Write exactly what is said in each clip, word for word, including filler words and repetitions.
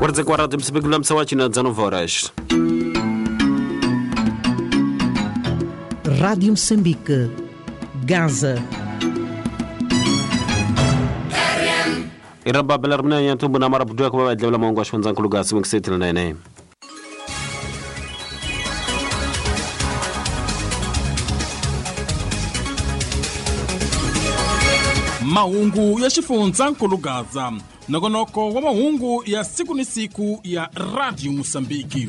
Quarenta e quatro Moçambique, dezenove horas. Rádio Moçambique, Gaza. Iraba belarmina yantumbu na mara budwa kwa badla mongo ashwanza nkuluga simu nene. Mahungu ya xifundzha nkulugaza nongonoko wa mahungu ya siku ni siku ya Radio Mozambique.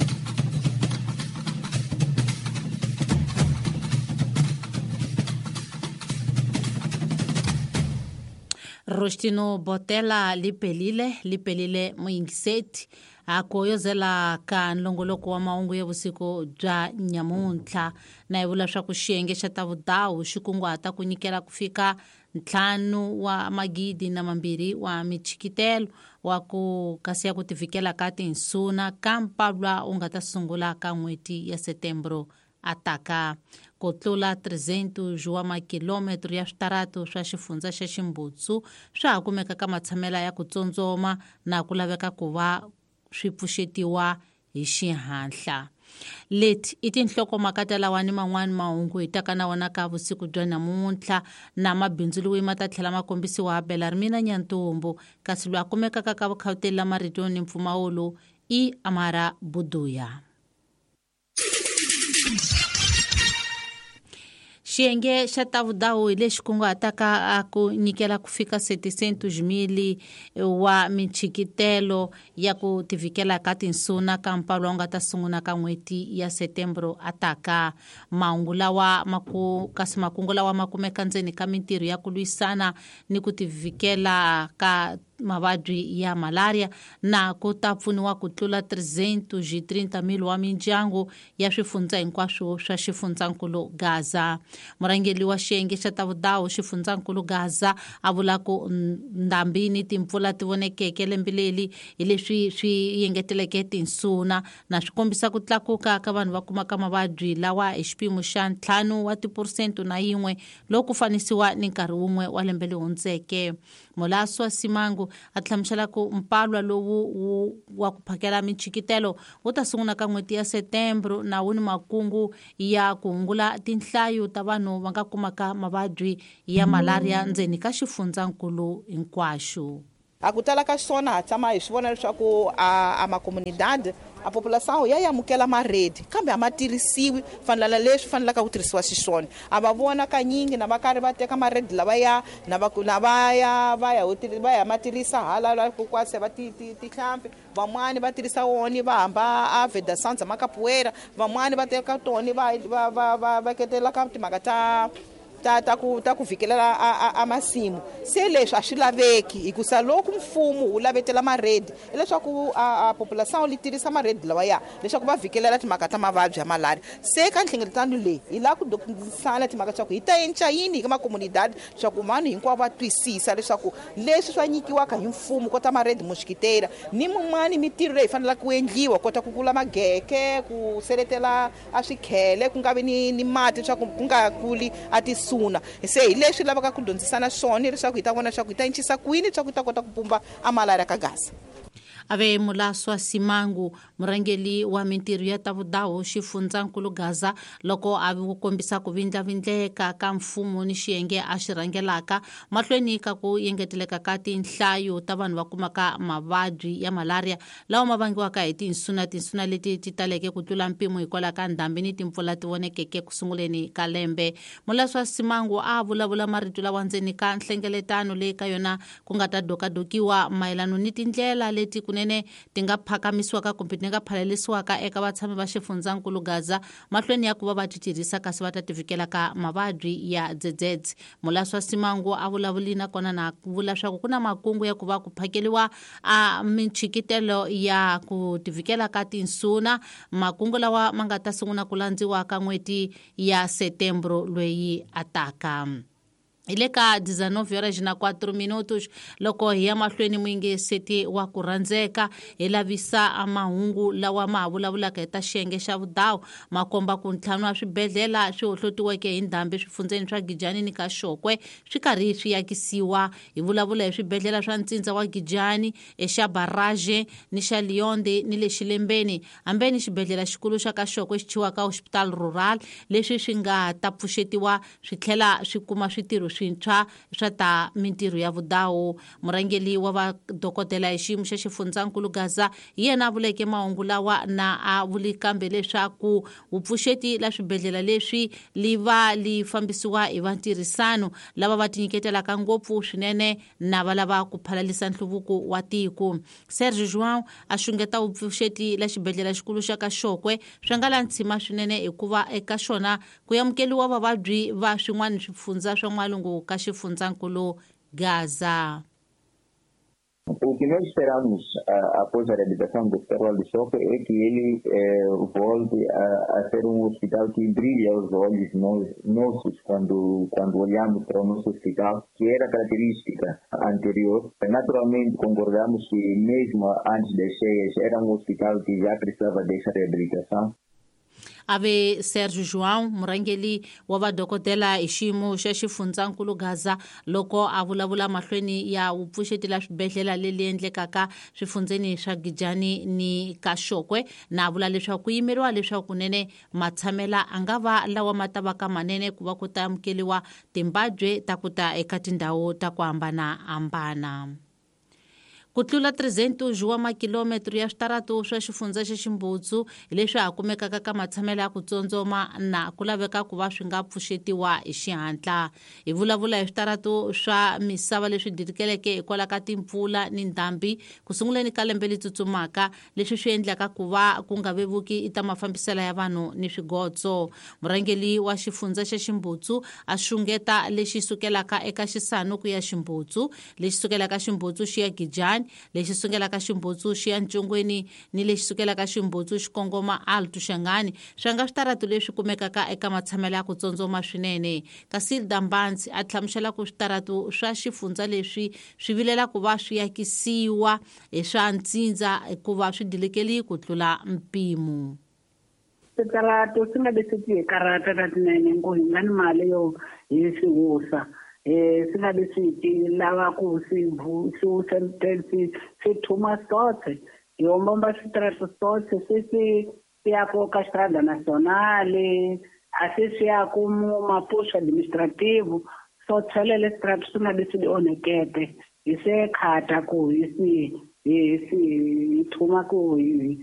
Rostino Botela lipelile lipelile muyingiseti akoyozela ka nlongoloko wa mahungu ya vusiku bya nyamuntlha na hi vula swa ku xiyenge xa ta vudawu xi kunguhata ku nyikela ku fika ntlhanu wa magidi na mambirhi wa michikitelo wa ku kasi ya ku tivikela ka tinsuna ka mpalwa u nga ta sungula ka n'hweti ya Setembro ataka ku tlula trezentos wa makilometro ya switaratu swa xifundza xa Ximbutsu swa ha kumeka ka matshamela ya ku tsotsoma na ku laveka ku va swi pfuxetiwa hi xihatla. Leti i tinhlokomhaka ta lawa ni man'wani mahungu hi taka na wona ka vusiku bya namuntlha na mabindzu loyi ma ta tlhela ma kombisiwa Belarmina Nyantumbu kasi loyi a kumekaka ka vukhawuteli la marito ni mpfumawulo i Amara Buduya. Xiyenge xa ta vudawu hi lexi kunguhataka a ku nyikela ku fika setecentos mil wa michikitelo ya ku tivikela ka tinsuna ka mpalwa wu nga ta sungula ka n'hweti ya Setembro ataka. Mahungu lawa maku kasi makungu lawa ma kumeka ndzeni ka mintirho ya ku lwisana ni ku tivikela ka mavabyi ya malaria na ku ta pfuniwa ku tlula trezentos e trinta mil wa mindyangu ya swifundza hinkwaswo swa xifundzankulu Gaza. Murhangeri wa xiyenge xa ta vudawu xifundzankulu Gaza a vula ku ndhambi ni timpfula ti vonekeke lembe leri hi leswi swi yengeteleke tinsuna na swi kombisa ku tlakuka ka vanhu va kumaka mavabyi lawa hi xipimo xa ntlhanu wa tiphesente na yin'we loko ku fanisiwa ni nkarhi wun'we wa lembe leri hundzeke. Mulaswa Simangu a hlamusela ku mpalwa lowu wa ku phakela michikitelo wu ta sungula ka n'hweti ya Setembro na wu ni makungu ya ku hungula tinhlayo ta vanhu va nga kumaka mavabyi ya malaria ndzeni ka xifundzankulu hinkwaxo. A ku tala ka swona ha tshama hi swi vona leswaku a a makomunidade a population ya amukela maredi kambe a ma tirhisiwi fanela leswi fanelaka ku tirhisiwa xiswona. A va vona kanyingi na va karhi va teka maredi lava ya na va na va ya va ya va ya ma tirhisa hala la ku kwase va ti tihlampfi van'wani va tirhisa wona va hamba a veda sanza makapuera van'wani va teka tona va va va va veketela ka timhaka ta ta ta ku ta ku vikelela a a masimu. Se leswi a swi laveki hikusa loko mfumo wu lavetela maredi hileswaku a population li tirhisa maredi lawa ya leswaku va vikelela timhaka ta mavabyi ya malaria. Se ka nhlengeletano leyi hi lava ku dyondzisana timhaka swa ku hi ta endla yini ka makomunidade leswaku vanhu hinkwavo va twisisa leswaku leswi swa nyikiwaka hi mfumo kota maredi moxikitela ni mun'wani mitirho leyi fanelaka ku endliwa kota ku kula mageke ku seletela a swikhele ku nga vi ni ni mati leswaku ku nga kuli a tisu. Se hi leswi lavaka ku dyondzisana swona leswaku hi ta vona leswaku hi ta encisa kwini leswaku hi ta kota ku pumba a malaria ka Gaza. Ave Mulaswa Simangu murhangeri wa mintirho ya ta vudawu xifundzankulu Gaza loko a kombisa ku vindlavindleka ka mfumo ni xiyenge a xi rhangelaka mahlweni ka ku engeteleka ka tinhlayo ta vanhu va kumaka mavabyi ya malaria lawa ma vangiwaka hi tinsuna tinsuna leti ti taleke ku tlula mpimo hikwalaho ka ndhambi ni timpfula ti vonekeke ku sunguleni ka lembe. Mulaswa Simangu a vulavula marito lawa ndzeni ka nhlengeletano leyi ka yona ku nga ta dokadokiwa mayelano ni tindlela leti kunene ti nga phakamisiwaka kumbe ti nga phalelisiwaka eka vatshami va xifundzankulu Gaza mahlweni ya ku va va ti tirhisa kasi va ta tivikela ka mavabyi ya dzedzedze. Mulaswa Simangu a vulavuli nakona na vula swa ku ku na makungu ya ku va ku phakeliwa a michikitelo ya ku tivikela ka tinsuna makungu lawa ma nga ta sungula ku landziwa ka n'hweti ya Setembro loyi ataka. Hi le ka dezenove horas na quatro minutos loko hi ya mahlweni muyingiseti wa ku rhandzeka hi lavisa mahungu lawa ma ha vulavulaka hi ta xiyenge xa vudawu ma komba ku ntlhanu wa swibedhlele swi hohlotiweke hi ndhambi swifundzeni swa Gijani ni ka Xokwe swi karhi swi yakisiwa. Hi vulavula hi swibedhlele swa ntsindza wa Gijani, exa Barrage ni xa Lionde ni le Xilembeni, hambeni xibedhlele xikulu xa ka Xokwe xi thyiwaka Hospital Rural, leswi swi nga ta pfuxetiwa swi tlhela swi kuma switirho swintshwa swa ta mintirho ya vudawu. Murhangeri wa vadokodela hi xiyimo xa xifundzankulu Gaza hi yena a vuleke mahungu lawa na a vuli kambe leswaku vupfuxeti la swibedhlele leswi li va li fambisiwa hi vantirhisano lava va tinyiketelaka ngopfu swinene na va lava ku phalalisa nhluvuko wa tiko. Serge João a xungeta vupfuxeti la xibedhlele xikulu xa ka Xokwe swi nga la ntshima swinene hikuva eka xona ku amukeriwa vavabyi va swin'wana swifundza swa n'walungu ka xifundzankulu Gaza. O que nós esperamos uh, após a reabilitação do Hospital de Chokwe é que ele eh, volte a, a ser um hospital que brilha aos olhos nós, nossos quando, quando olhamos para o nosso hospital, que era característica anterior. Naturalmente, concordamos que mesmo antes das cheias era um hospital que já precisava dessa reabilitação. Ave Serge João, murhangeri wa vadokodela hi xiyimo xa xifundzankulu Gaza loko a vulavula mahlweni ya vupfuxeti la swibedhlele leli endlekaka swifundzeni swa Gijani ni ka Xokwe, na vula leswaku ku yimeriwa leswaku kunene matshamela a nga va lawa ma ta va ka manene ku va ku ta amukeriwa timbabye ta ku ta eka tindhawu ta ku hambanahambana. Ku tlula trezentos wa makilometro ya switaratu swa xifundza xa Ximbutsu hi leswi ha kumekaka ka matshamelo ya ku tsotsoma na ku laveka ku va swi nga pfuxetiwa hi xihatla. Hi vulavula hi switaratu swa misava leswi didikeleke hikwalaho ka timpfula ni ndhambi ku sunguleni ka lembe leri tsutsumaka, leswi swi endlaka ku va ku nga vevuki ta mafambiselo ya vanhu ni swigotso. Murhangeri wa xifundza xa Ximbutsu a xungeta lexi sukelaka eka Xisanu ku ya Ximbutsu, lexi sukelaka Ximbutsu xi ya Gijani, lexi sukelaka Ximbutsu xi ya Ntshongweni ni lexi sukelaka Ximbutsu xi kongoma Alto Xangani, swi nga switaratu leswi kumekaka eka matshamelo ya ku tsotsoma swinene. Kasi Dambanzi a hlamusela ku switaratu swa xifundza leswi swi vilela ku va swi yakisiwa hi swa ntsindza hikuva swi dilekeli ku tlula mpimo. Switaratu swi nga leswi hi karata ta tinene ngo hi nga ni mali yo hi swi wusa. Eh swi nga leswi ti lava ku swi swi wusa swi swi thuma sotse hi ombomba switaratu sotse swi swi swi ya ku ka Estrada Nacional, a swi swi ya ku Maputo administrativo so tshelele switaratu swi nga leswi di onhekete hi se khata ku hi swi hi swi hi thuma ku hi